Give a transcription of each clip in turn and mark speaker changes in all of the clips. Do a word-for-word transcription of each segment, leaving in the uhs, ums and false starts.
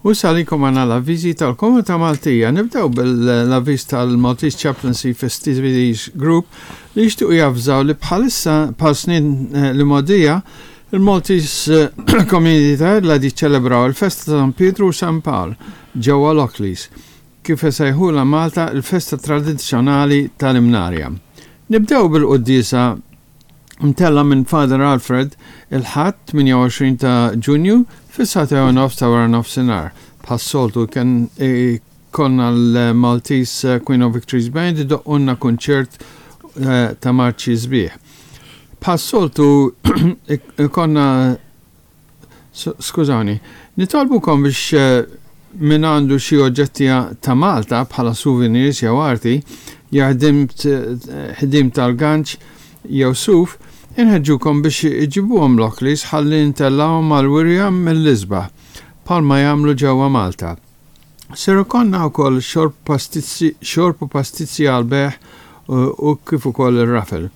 Speaker 1: U salikom għandna l-avviżi tal-Komunità Maltija. Nibdew bil-avviż tal-Maltese Chaplaincy Festivities Group li jixtiequ javżaw li bħalissa, bħal snin eh, li mogħdija, il-Maltese eh, Community ta' li ċelebraw il-festa ta' San Pietru u San Pawl ġewwa Lockleys, kif isejħula Malta, il-festa tradizzjonali tal-Imnarja. Nibdew bil-quddiesa mtella minn Father Alfred il-Ħadd tmienja u għoxrin ta' Ġunju fis-sagħtejn u nofs ta' wara nofsinhar. Bħas-soltu kien konna l-Maltese Queen of Victories Band idoqqulna kunċert eh, ta' marċi sbieħ. Bħas-soltu konna, skużani, nitolbukom biex eh, min għandu xi oġġetti ta' Malta bħala souvenirs jew arti, jew ħdim tal-ganċ jew suf, inħeġġukom biex iġibuhom Lockleys ħalli ntellgħuhom mal-wirja mill-isbaħ, bħalma jagħmlu ġewwa Malta. Ser ikollna wkoll xorb pastizzi, xorb u pastizzi għal-bejgħ u kif ukoll ir-raffle.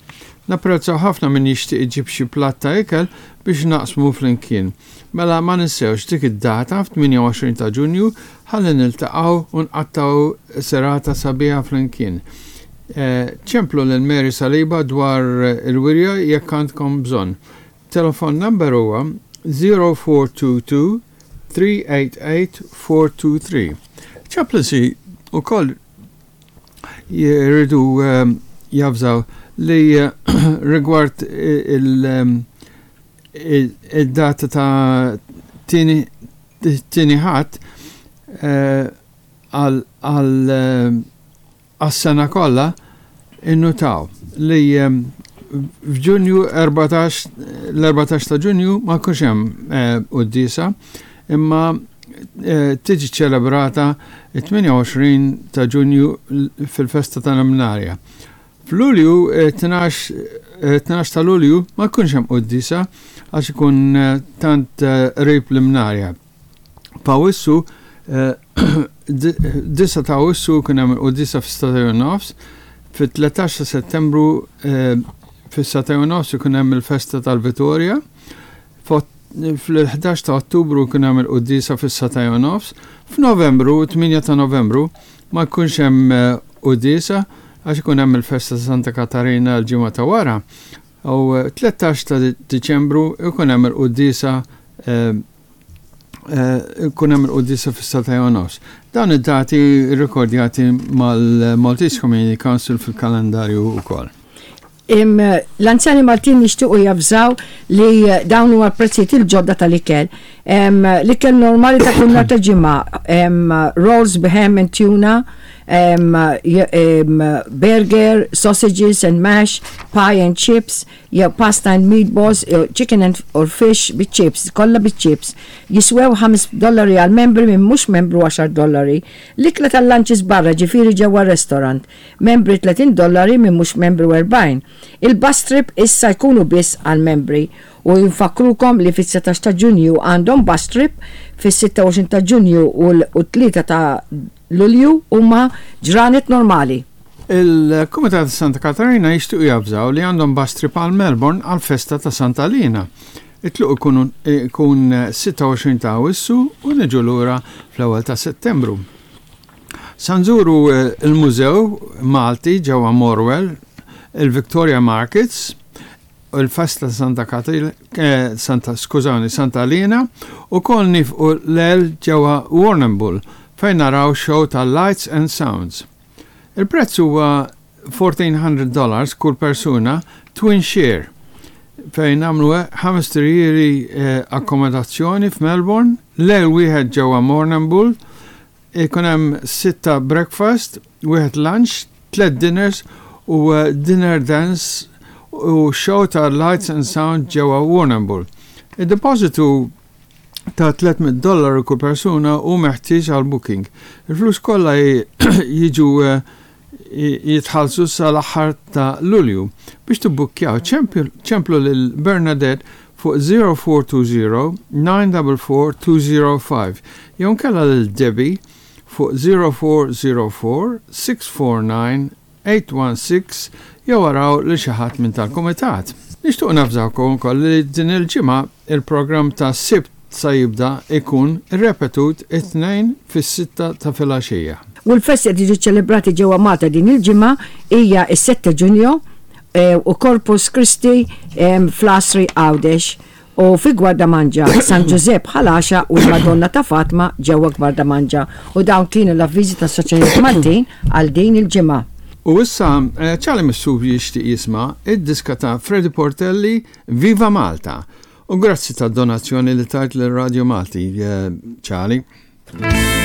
Speaker 1: Napprezzaw ħafna min jixtieq iġib xi platt ta' ikel biex naqsmu flimkien. Mela ma ninsewx dik id-data f'tmienja u għoxrin ta' Ġunju ħalli niltaqgħu u nqattgħu serata sabiħa flimkien. Eh, ċemplu lil Mary Saliba dwar il-wirja jekk għandkom bżonn. Telefon number huwa zero four two two three eight eight four two three. Chaplaincy ukoll jridu um, javżaw li uh, rigward il-data ta' tieni tieni Ħadd għal għas-sena kollha, innutaw li f'Ġunju erbatax, l-erbatax ta' Ġunju ma jkunx hemm quddiesa, imma tiġi ċelebrata it-tmienja u għoxrin ta' Ġunju fil-festa tal-Imnarja. F'Lulju, tnax ta' Lulju, ma jkunx hemm quddiesa għax ikun tant qrib l-Imnarja. F'Awwissu, disgħa ta' Awwissu kien hemm il-quddiesa fis-sagħtejn u nofs, fit-tlettax ta' Settembru fis-sagħtejn u nofs ikun hemm il-festa tal-Vittoria, fl-ħdax ta' Ottubru kien hemm il-quddiesa fis-sagħtejn u nofs, f'Novembru, tmienja ta' Novembru, ma jkunx hemm quddiesa għax ikun hemm il-festa ta' Santa Katarina l-ġimgħa ta' wara. U tlettax ta' Diċembru ikun hemm il-quddiesa ikun hemm il-quddiesa fis-sagħtejn u nofs. Dawn id-dati rikordjati mal-Maltese Community Council fil-kalendarju wkoll.
Speaker 2: L-Anzjani Maltin jixtiequ javżaw li dawn huma l-prezzijiet il-ġodda tal-ikel. L-ikel normali ta' kull nhar ta' Ġimgħa, rolls ham and tuna, burger, sausages and mash, pie and chips, jew pasta and meatballs, jew chicken and or fish with chips, kollha bit chips. Jiswew ħames dollari għal membri, minn mhux membru għaxar dollari. L-ikla tal-lunches barra, ġifieri ġewwa restaurant, membri tletin dollari, minn mhux membru erbgħin. Il-bus trip issa jkunu biss għal membri u jinfakrukom li fis-setax ta' Ġunju għandhom bus trip, fis-sitta u għoxrin ta' Ġunju u tlieta ta' Lulju huma ġranet normali.
Speaker 1: Il-Kumitat Santa Katarina jixtiequ javżaw li għandhom bus trip għal Melbourne għal festa ta' Santa Lina. It-tluq ikun sitta u għoxrin ta' Awwissu u niġu lura fl-ewwel ta' Settembru. Sa nżuru il-Mużew Malti ġewwa Morwell, il-Victoria Markets, il-festa Santa Katarina, Santa, skużawni, Santa Lina, u kol nieqfu lejl ġewwa Warrnambool fejn naraw show ta' Lights and Sounds. Il-prezz huwa fourteen hundred dollars kull persuna, twin share, fejn nagħmlu ħames tirjiri eh, akkomodazzjoni f'Melbourne, lejl wieħed ġewwa Warrnambool, ikun hemm sitta breakfast, wieħed lunch, tliet dinners u eh, dinner dance u show ta' Lights and Sound ġewwa Warrnambool. Id-depositu ta' tliet mitt dollaru kull persuna hu meħtieġ għal booking. Il-flus kollha jiġu eh, jitħallsu sal-aħħar ta' Lulju. Biex tibbukkjaw, ċemplu lil Bernadette fuq zero four two zero nine four four two zero five jew nkella lil Debbie fuq zero four zero four six four nine eight one six jew araw li xi ħadd minn tal-kumitat. Nixtieq navżawkom ukoll li din il-ġimgħa il-programm ta' Sibt sa jibda ikun ripetut it-Tnejn fis-sitta ta' filgħaxija.
Speaker 2: U l-festi qed jiġu ċelebrati ġewwa Malta din il-ġimgħa hija s-sette Ġunju eh, u Corpus Christi em, fl-Għasri Għawdex u fi Gwardamanġa, San Giuseppe Ħal Għaxaq u l-Madonna ta' Fatma ġewwa Gwardamanġa. U dawn kienu l-avviżi tas-Soċjetajiet Maltin għal din il-ġimgħa.
Speaker 1: U issa eh, Charlie Mifsud jixtieq jisma' id-diska ta' Freddy Portelli, Viva Malta. U grazzi ta' donazzjoni li tajt l-Radio Malti, eh, Charlie.